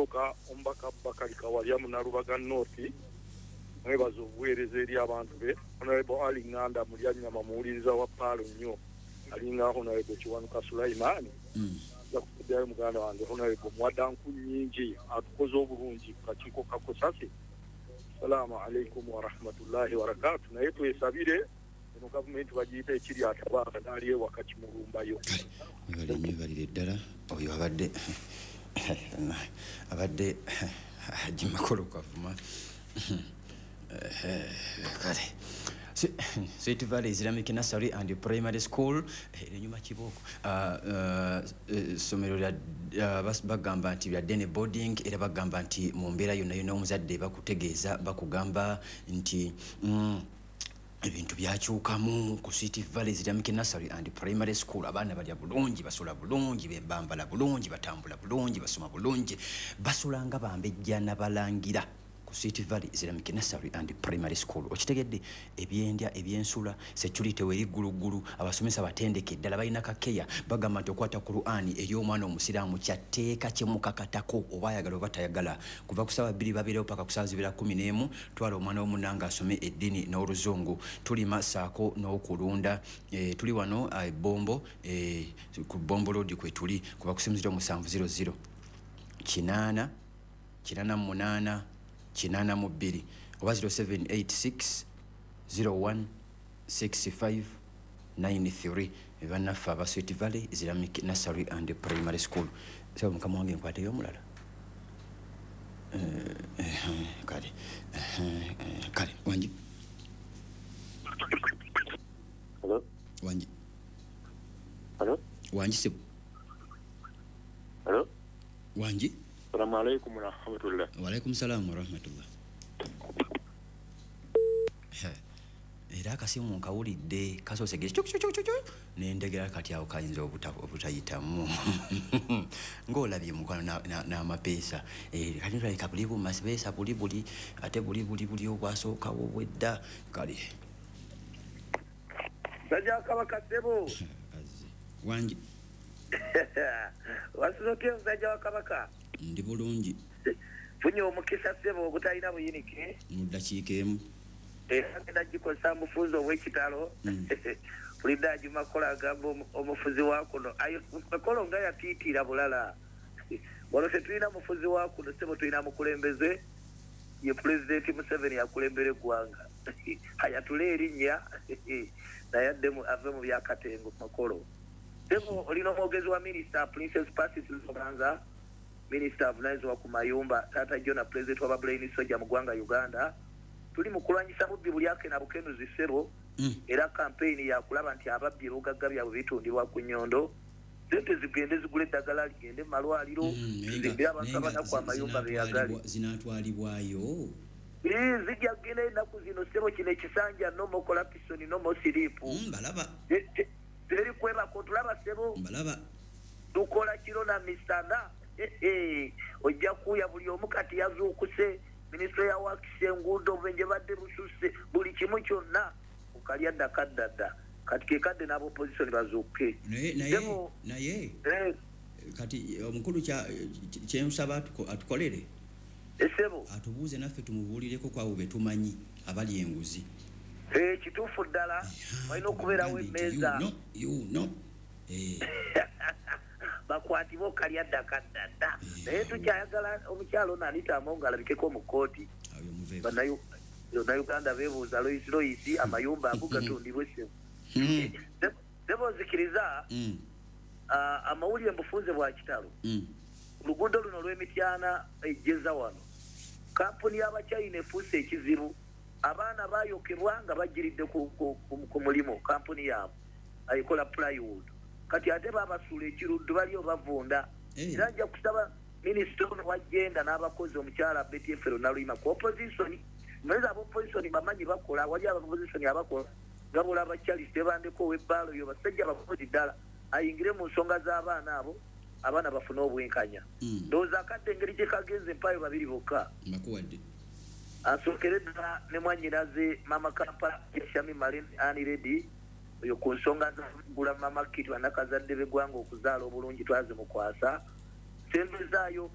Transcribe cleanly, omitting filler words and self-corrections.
Okusooka, omubaka Bakali Kawalya Munalubaga North, mwebaza obuweereza eri abantu be. Honorable Ali Nganda Mulyanyama, muwuliriza wa Paalo nnyo, alinga Honorable Kiwanuka Sulaimaani. Nja kukuddayo muganda wange Honorable Muwaddanku nnyingi atukoze obulungi ku kakiiko ka Kosase. Salaamu alaikum warahmatullahi wabarakatu. Naye twesabire eno gavumenti bagiyita ekiri atabaaka n'ali ewaka kimulumbayo. Kale, webale nnyo, webalire ddala. Oyo abadde Haji Makolo Kavuma. Kale, Sweet Valley Islamic Nursery and Primary School enyuma kibooko, ssomero lya bagamba nti lya day boarding, era bagamba nti mu mbeera yonna yonna omuzadde bakutegeeza, bakugamba nti ebintu byakyukamu ku Sweet Valley Islamic Nursery and Primary School. Abaana balya bulungi, basula bulungi, bambala bulungi, batambula bulungi, basoma bulungi, basula nga bambejja nabalangira ku Sweet Valley Islamic Nursery and Primary School. Okitegedde? Ebyendya, ebyensula, security weri gguluggulu, abasomesa batendeke ddala, balina kakeya. Bagamba nti okwata Qur'ani eri omwana omusiraamu kyatteeka, kyemukakatako oba ayagala oba tayagala. Kuva ku saawa 2 babeerewo paka ku saawa zibeera 11. Twala omwana w'omunanga asome eddiini n'oluzungu. Tulima saako n'okulunda. Tuli wano Bombo, ku Bombo Road kwe tuli. Kuba ku simu 0700 8 88 82 oba 0786 01 65 93. Bannaffe aba Sweet Valley Islamic Nursery and Primary School. Saba mukama wange nkwateyo omulala. Kale, kale, wangi. Hello? Wangi. Hello? Wangi sebo. Hello? Wangi. Assalamu alaikum warahmatullah. Waalaikum salaam warahmatullah. Era akasimu nkawulidde kasoose ge cuk cuk cuk cuk, nendegera kati awo kayinza obutayitamu ng'olabye mukwano n'amapeesa. Kati tulabika buli bumapeesa buli buli ate buli buli buli obwasookawo bwedda. Kale. Musajja wa Kabaka, ssebo. Azze. Wangi. Wasuze otya, musajja wa Kabaka? Ndi bulungi. Funye omukisa, ssebo, ogutalina buyinike. Mu ddakiika emu. Era ngenda gikozesa mufuzi ow'ekitalo. Pulida Agimakola agamba omufuzi wa kuno ayo makolo nga yatiitiira bulala. Wano tetulina mufuzi wa kuno, ssebo, tulina mukulembeze, ye Pulezidenti Museveni akulembera eggwanga. Ayatule erinnya naye addemu ave mu byakatengo. Makolo, ssebo, olina omwogezi wa minisita Princess Pacis Lubanza, minisita avunanyizibwa ku mayumba, taata Jona, pulezidenti wa Babulaini Soja mu ggwanga Uganda. Tuli mu kulwanyisa bubbi bulyake na bukenuzi, ssebo. Era kampeyini yakulaba nti ababbi ebugagga byabwe bitundibwa ku nnyondo, sente zigende zigula eddagala, ligende mu malwaliro, Naye zimbire abantu naye nga abanaku amayumba beyagali. Zinaatwalibwayo. Zijja kugenda ennaku zino, ssebo. Kino ekisanja no more corruption, no more sleep. Mbalaba. Teri kwebako, tulaba, ssebo. Mbalaba. Tukola kiro na misana. Ojja kuuya buli omu kati yazuukuse. Minisitule ya wakisi, enguudo, obubenje badde bususse, buli kimu kyonna okalya dda kadda dda. Kati kekadde n'abopposition bazuukuke. Naye Ssebo. Naye kati omukulu kyensaba atukolere, Essebo. atubuuze naffe tumubuulireko kwabo be tumanyi abali enguzi. Kituufu ddala, walina okubeerawo emmeeza. You know. Bakwatibwe okalya dda kadda dda. Naye tukyayagala omukyalo ono Anita Amongo alabikeko mu kkooti. Awo muveeko. Bannayuganda beebuuza Loisi Loisi amayumba ago gatundibwe, ssebo. Ssebo, nzikiriza, amawulire mbufunze bwa kitalo. Oluguudo luno olw'Emityana ejjeza wano, kampuni y'Abachina efuuse ekizibu. Abaana bayokebwa nga bagiridde ku mulimu. Kampuni yaabwe ekola plywood, kati ate babasuula ekiruddu, baliyo bavunda. Era nja kusaba minisita ono wagenda n'abakozi, omukyala Betty Efero Naluyima, ku opposition. Mwezi aba opposition bamanyi bakola, wali aba opposition abakola nga bolaba Charles Tebandeko ow'ebbaalo, yo basajja bakozi ddala, ayingire mu nsonga z'abaana abo, abaana bafune obwenkanya. Ndowooza akadde engeri gye kagenze empaayo babiri bokka. Mbakuwadde. Asookere ddala ne mwannyinaze Mama Kampala Shami Malen Ani Redi oyo ku nsonga zagula mama kit bannakazadde b'eggwanga okuzaala obulungi, twazimukwasa sembezaayo.